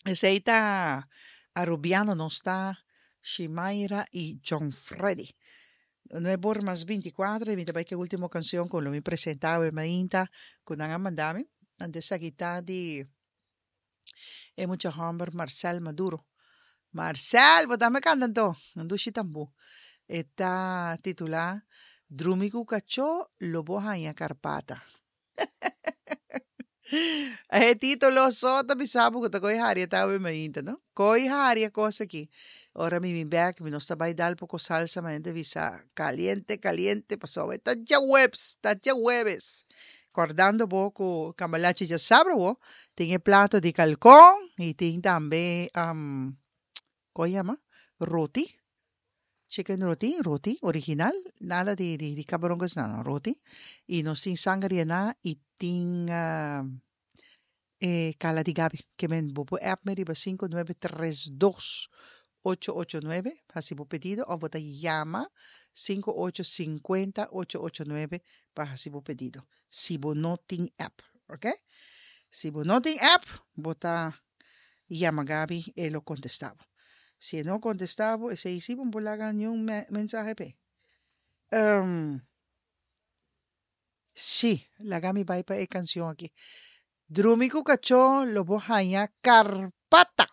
Esei ta Arubiano nos ta Shimaira y John Freddy. Nuebe or mas binticuatro y mi ta bay cu e ultimo cancion cu lo mi presenta awe mainta cu nan a manda mi. Anto esaki ta di e mucha homber Marcel Maduro. Marcel, bo tambe canta anto? Un dushi tambu. E ta titula Drumi cu cacho lo bo haña carpata. E título so ta bisa bo ku ta koi haria ta awe mainta, no? Koi haria kos aki. Ora mi bin bek, mi no sta bai dal poko salsa, ma hende bisa kaliente, kaliente, pasobra e ta djaweps, ta djaweves. Kordando bo ku Cambalache djasabra awo tin e plato di kalkon i tin tambe, kon yama? Roti. Chicken roti, roti original, nada di di di cabaron cos no, no, roti. Y nos tin sanger yená y tin e cala di Gabi. Ke men bo por app me riba 5932 889 pa hasi bo pedido of bo ta yama 5850 889 pa hasi bo pedido. Si bo no tin app, ok? Si bo no tin app, bo ta Yama Gaby, e lo contesta bo. Si e no contesta bo, esey si bo no por laga niun mensahe p'e. Ehm, si, laga mi bay pa e cancion aki. Drumi cu cachó lo bo haña carpata!